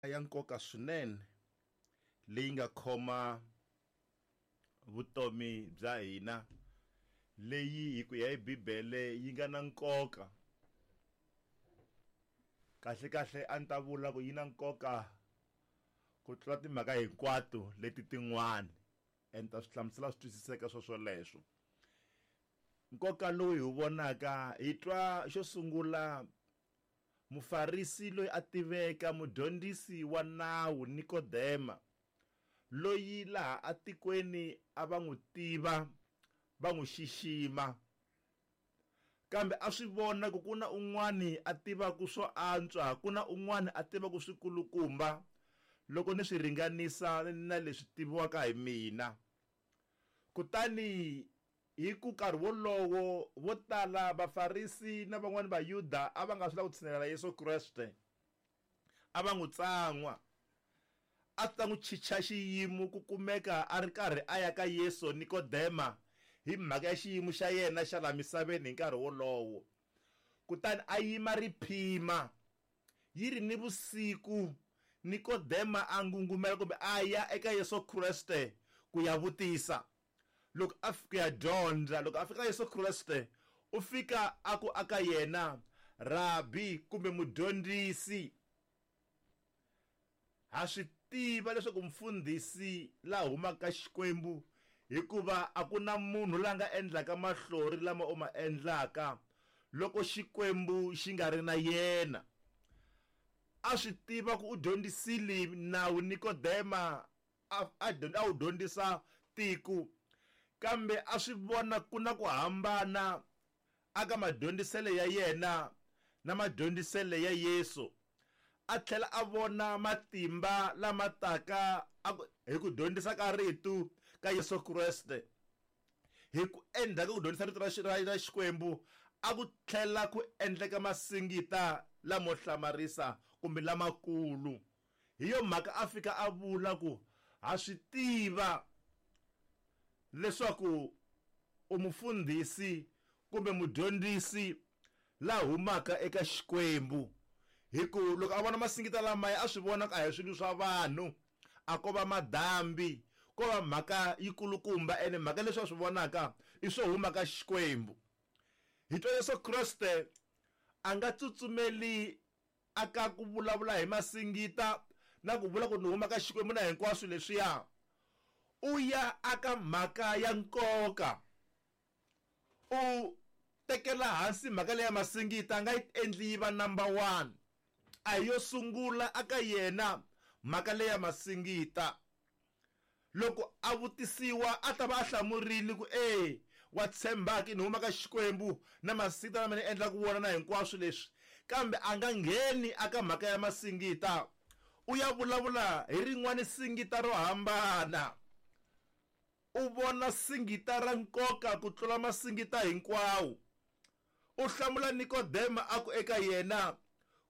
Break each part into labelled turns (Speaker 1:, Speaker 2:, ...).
Speaker 1: Ya nkoka swinene leyi nga khoma vutomi bya hina leyi hi ku ya hi Bibele yi nga na nkoka kahle kahle a ni ta vula ku yi na nkoka ku tlula timhaka hinkwato leti tin'wana and ta swi hlamusela swi twisiseka swo swoleswo nkoka lowu hi wu vonaka hi twa xo sungula Mufarisi loyi a tiveka, mudyondzisi wa nawu Nikodema, loyi laha atikweni a va n'wi tiva, va n'wi xixima. Kambe a swi vona ku ku na un'wani a tivaka swo antswa, ku na un'wani a tivaka swikulukumba loko ni swi ringanisa na leswi tiviwaka hi mina. Kutani Hi ku nkarhi wolowo, vo tala Vafarisi na van'wana Vayuda a va nga swi lavi ku tshinelela Yesu Kreste. A va n'wi tsan'wa. A swi ta n'wi chicha xiyimo ku kumeka a ri karhi a ya ka Yesu Nikodema hi mhaka ya xiyimo xa yena xa laha misaveni hi nkarhi wolowo. Kutani a yima riphima. Yi ri ni vusiku, Nikodema a ngungumela kumbe a ya eka Yesu Kreste ku ya vutisa. Loko a ku ya dyondza, loko a fika Yesu Kreste, u fika a ku aka yena, Rabi kumbe mudyondzisi. Ha swi tiva leswaku mufundhisi la humaka ka Xikwembu hikuva a ku na munhu la nga endlaka mahlori lama u ma endlaka loko Xikwembu xi nga ri na yena. A swi tiva ku u dyondzisile nawu Nikodema a a a wu dyondzisa tiko kambe a swi vona ku na ku hambana aka madyondzisele ya yena na madyondzisele ya Yesu a tlhela a vona matimba lama taka hi ku dyondzisa ka rito ka Yesu Kreste hi ku endzhaku ka ku dyondzisa rito ra Xikwembu a ku tlhela ku endleka masingita lamo hlamarisa kumbe lamakulu. Hi yo mhaka a fika a vula ku, Ha swi tiva leswaku u mufundhisi kumbe mudyondzisi la humaka eka Xikwembu. Hi ku loko a vona masingita lamaya a swi vona ku a hi swilo swa vanhu, a ko va madambi, ko va mhaka yikulukumba ene mhaka leswi a swi vonaka i swo huma ka Xikwembu. Hi twa Yesu Kreste a nga tsutsumeli aka ku vulavula hi masingita na ku vula ku ni huma ka Xikwembu na hinkwaswo leswiya, u ya aka mhaka ya nkoka. U tekela hansi mhaka leya masingita a nga yi endli yi va number one. A hi yo sungula aka yena mhaka leya masingita. Loko a vutisiwa a ta va a hlamurile ku e wa tshemba-ke ni huma ka Xikwembu na masingita lama ni endlaka wona na hinkwaswo leswi, kambe a nga ngheni aka mhaka ya masingita, u ya vulavula hi rin'wana singita ro hambana. U vona singita ra nkoka ku tlula masingita hinkwawo. U hlamula Nikodema a ku eka yena,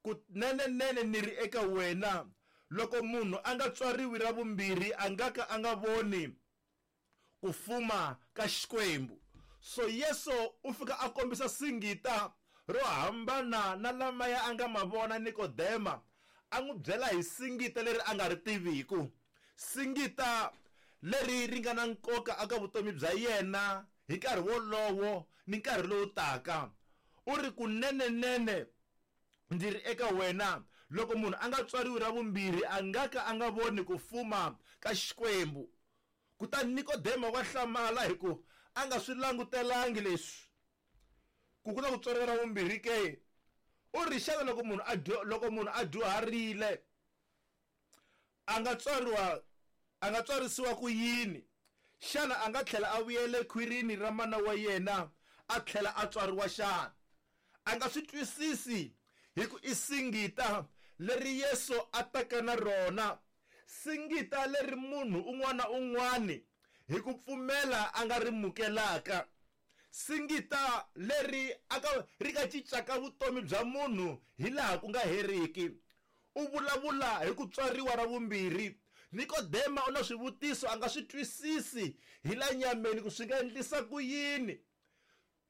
Speaker 1: Kunene-nene ni ri eka wena, loko munhu a nga tswariwi ra vumbirhi a nga ka a nga voni ku fuma ka Xikwembu. So Yesu u fika a kombisa singita ro hambana na lamaya a nga ma vona Nikodema, a n'wi byela hi singita leri a nga ri tiviku, singita leri ri nga na nkoka eka vutomi bya yena hi nkarhi wolowo ni nkarhi lowu taka. U ri, Kunene-nene ndzi ri eka wena, loko munhu a nga tswariwi ra vumbirhi, a nga ka a nga voni ku fuma ka Xikwembu. Kutani Nikodema wa hlamala hi ku a nga swi langutelangi leswi, ku ku na ku tswariwa ra vumbirhi ke? U ri, Xana loko munhu a loko munhu a dyuharile, a nga tswariwa a nga tswarisiwa ku yini? Xana a nga tlhela a vuyela ekhwirini ra mana wa yena a tlhela a tswariwa xana? A nga swi twisisi hi ku i singita leri Yesu a taka na rona, singita leri munhu un'wana na un'wana hi ku pfumela a nga ri mukelaka, singita leri a ka ri nga cincaka vutomi bya munhu hi laha ku nga heriki. U vulavula hi ku tswariwa ra vumbirhi. Nikodema u na swivutiso a nga swi twisisi hi la nyameni ku swi nga endlisa ku yini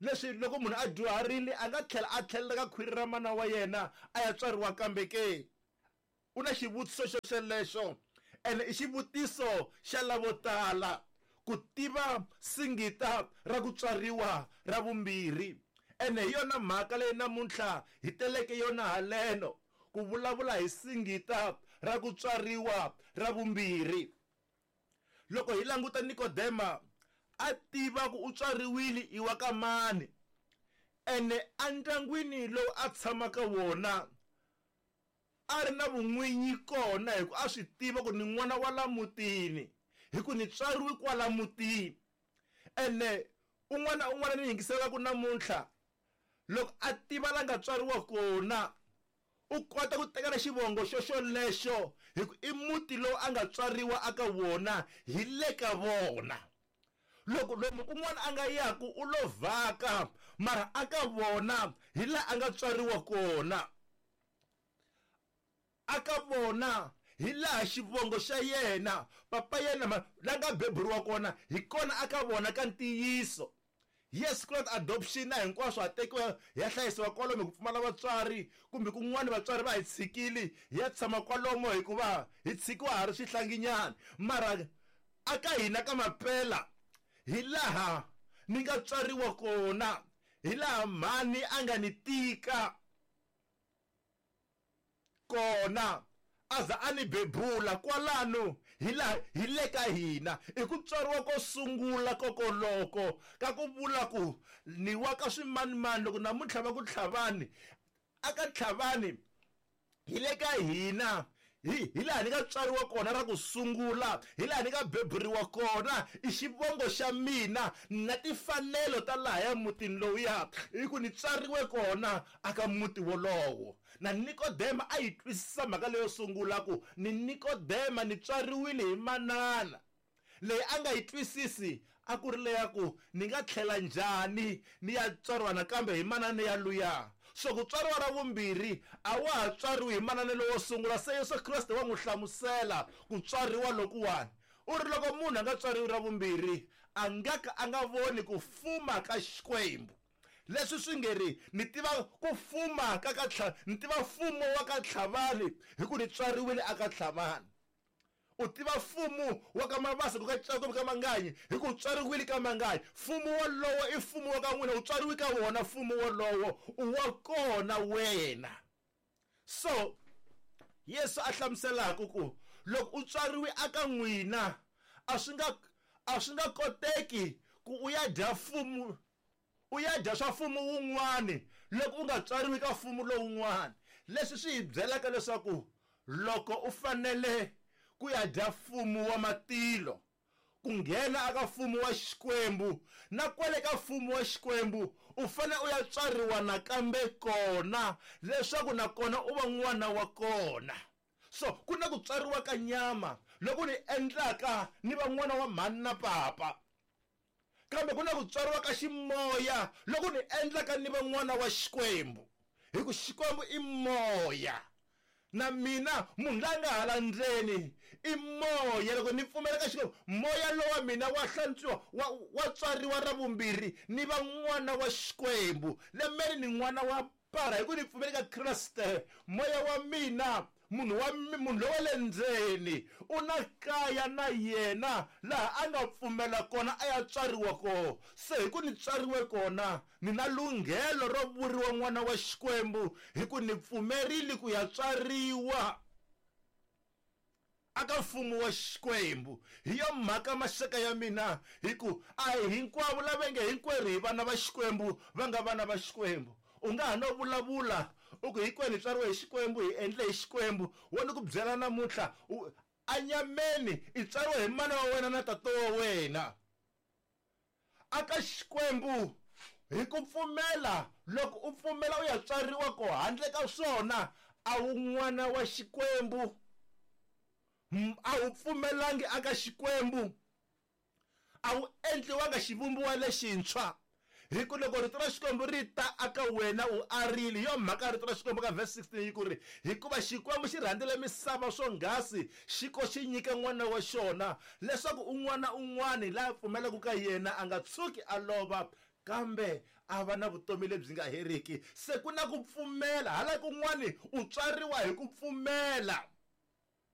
Speaker 1: leswi loko munhu a dyuharile a nga tlhela a tlhelela ka khwiri ra mana wa yena a ya tswariwa kambe ke. U na xivutiso xo xelexo ene i xivutiso xa lavo tala ku tiva singita ra ku tswariwa ra vumbirhi. Ene hi yona mhaka leyi namuntlha hi teleke yona haleno ku vulavula hi singita ra ku tswariwa ra vumbirhi. Loko hi languta Nikodema a tiva ku u tswariwile i wa ka mani ene endyangwini lowu a tshamaka wona a ri na vun'winyi kona hi ku a swi tiva ku ni n'wana wa la mutini hi ku ni tswariwe kwala mutini. Ene un'wana na un'wana ni yingiselaka namuntlha loko a tiva la nga tswariwa kona u kota ku teka na xivongo xo xolexo hi ku i muti lowu a nga tswariwa aka wona hi le ka vona. Loko lomu kun'wana a nga yaku u lo vhaka mara aka vona hi laha a nga tswariwa kona. Aka vona hi laha xivongo xa yena papa yena la nga beburiwa kona hi kona aka vona ka ntiyiso. Yes, ku na adoption na hinkwaswo ha tekiwa hi ya hlayisiwa kwalomu hi ku pfumala vatswari kumbe kun'wana vatswari va hi tshikile hi ya tshama kwalomo hikuva hi tshikiwa ha ri swihlanginyana mara aka hina ka mapela hi laha ni nga tswariwa kona hi laha mhani a nga ni tika kona a za a ni bebula kwalano hi laha hi le ka hina i ku tswariwa ko sungula kokoloko ka ku vula ku ni wa ka swimanimani loko namuntlha va ku tlhavani aka tlhavani hi le ka hina hi laha ni nga tswariwa kona ra ku sungula hi laha ni nga beburiwa kona i xivongo xa mina na timfanelo ta lahaya mutini lowuya hi ku ni tswariwe kona aka muti wolowo. Na Nikodema a yi twisisa mhaka leyo sungula ku ni Nikodema ni tswariwile hi manana leyi a nga yi twisisi a ku ri leya ku ni nga tlhela njhani ni ya tswariwa nakambe hi manana ya luya. So ku tswariwa ra vumbirhi a wa ha tswariwi hi manana lowo sungula se Yesu Kreste wa n'wi hlamusela ku tswariwa lokuwani. U ri loko munhu a nga tswariwi ra vumbirhi a nga ka a nga voni ku fuma ka Xikwembu. Leswi swi nge ri ni tiva ku fuma ka ka ni tiva mfumo wa ka Tlhavani hi ku ni tswariwile aka Tlhavani. U tiva mfumo wa ka Mabasa ku ka kumbe ka Manganyi hi ku tswariwile ka Manganyi. Mfumo wolowo i mfumo wa ka n'wina u tswariwe ka wona mfumo wolowo u wa kona wena. So Yesu a hlamuselaka ku loko u tswariwe aka n'wina a swi nga koteki ku u ya dya mfumo u ya dya swa mfumo wun'wani loko u nga tswariwi ka mfumo lowun'wani. Leswi swi hi byelaka leswaku loko u fanele ku ya dya mfumo wa matilo ku nghena aka mfumo wa Xikwembu na kwale ka mfumo wa Xikwembu u fanele u ya tswariwa nakambe kona leswaku nakona u va n'wana wa kona. So ku na ku tswariwa ka nyama loko ni endlaka ni va n'wana wa mhani na papa kambe ku na ku tswariwa ka ximoya loko ni endlaka ni va n'wana wa Xikwembu hi ku Xikwembu i moya na mina munhu la nga hala ndzeni i moya. Loko ni pfumela ka Xikwembu moya lowa mina wa hlantswiwa wa tswariwa ra vumbirhi ni va n'wana wa Xikwembu. Lembeni ni n'wana wa para hi ku ni pfumela ka Kreste moya wa mina munhu lowa le ndzeni u na kaya na yena laha a nga pfumela kona a ya tswariwa kona. Se hi ku ni tswariwe kona ni na lunghelo ro vuriwa n'wana wa Xikwembu hi ku ni pfumerile ku ya tswariwa aka mfumo wa Xikwembu. Hi yo mhaka maxaka ya mina hi ku a hi hinkwavo lava nge hinkwerhu hi vana va Xikwembu va nga vana va Xikwembu. U nga ha no vulavula u ku hinkwenu hi tswariwe hi Xikwembu hi endle hi Xikwembu wo ni ku byela namuntlha anyameni i tswariwe hi mana wa wena na tata wa wena. Aka Xikwembu hi ku pfumela loko u pfumela u ya tswariwa ko handle ka swona a wu n'wana wa Xikwembu a wu pfumelangi aka Xikwembu a wu endliwanga xivumbiwa lexintshwa hi ku loko rito ra Xikwembu ri ta aka wena u arile. Hi yo mhaka rito ra Xikwembu ka verse 16 yi ku ri hikuva Xikwembu xi rhandzile misava swonghasi xi ko xi nyika n'wana wa xona leswaku un'wana un'wana la pfumelaka ka yena a nga tshuki a lova kambe a va na vutomi lebyi nga heriki. Se ku na ku pfumela hala kun'wani u tswariwa hi ku pfumela.